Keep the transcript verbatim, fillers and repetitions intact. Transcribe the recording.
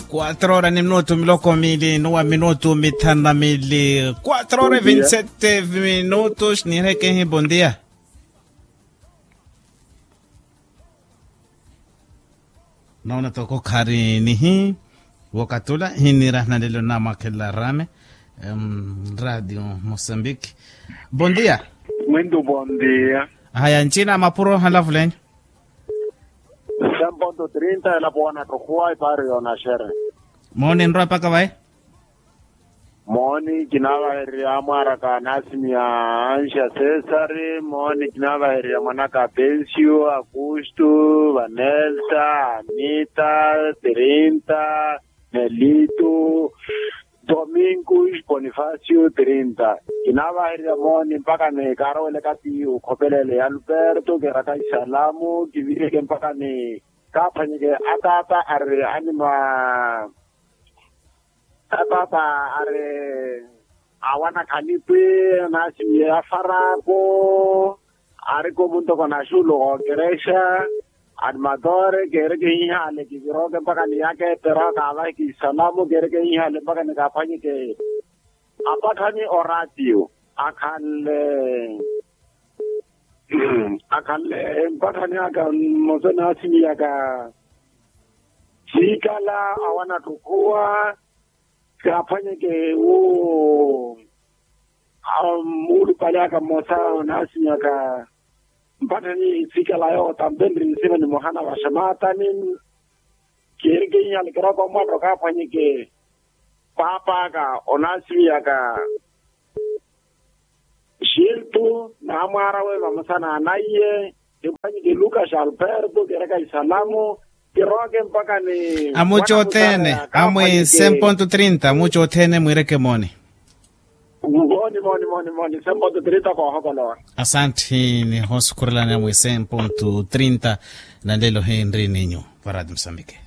Quatro horas ni minutu miloko mili nuwa minutu mithanu na mili. Quatro horas e vinte sete minutos nirekehi bondia. Noona toko khari nihi wokatula hinira nalelo namwakhelela rame. Radio mosambiki. Bondia. Mwintu bondia. Haya ncina mapuro halavulenyu. Cem ponto trinta elapo wana tohuwa ipari yonashere. Mooni nrowa paka vayi. Mooni kinavahererya amwaraka nasimiya ansha cesari mooni kinavahererya mwanaka pensio augusto vanelsa anita trinta nelito domingo bonifacio trinta. Kinavahererya mooni mpaka ni kaarowele kati okhopelele ya alberto keraka isalamu kivireke mpaka ni kaaphwanyeke ataata ari anima ataata ari awana khanipwi nasimiye afarako ariko muntoko naxulu okerexa animatore kereke hihale kiviroke mpaka niyake pero akavahe kisalamu kereke hihale mpaka nikaphwanyeke apakhani oratiu akhanle akhanle empakhani aka mose nasimiyaka siikala awana ttukhuwa kaaphwanyeke wu muulupale aka mmosa nasimiyaka mpakhani siikala yootampe nri nsima ni muhana vaxamaatani keerikeiha alekera okomwatta okaaphwanyeke paapa aka onaasiwiyaka xiltu naamwaarawe vamosa na anaiye. Kiphwanyeke lukas alberto keraka isalamu kiroke mpaka ni amuca othene amwi cem ponto trinta amuca othene mwiireke mooni. Mooni mooni mooni mooni cem ponto trinta koohokolowa. Asanthi nihoosukhurelani amwi cem ponto trinta. Nanlelo hinri ninyu varati musambike.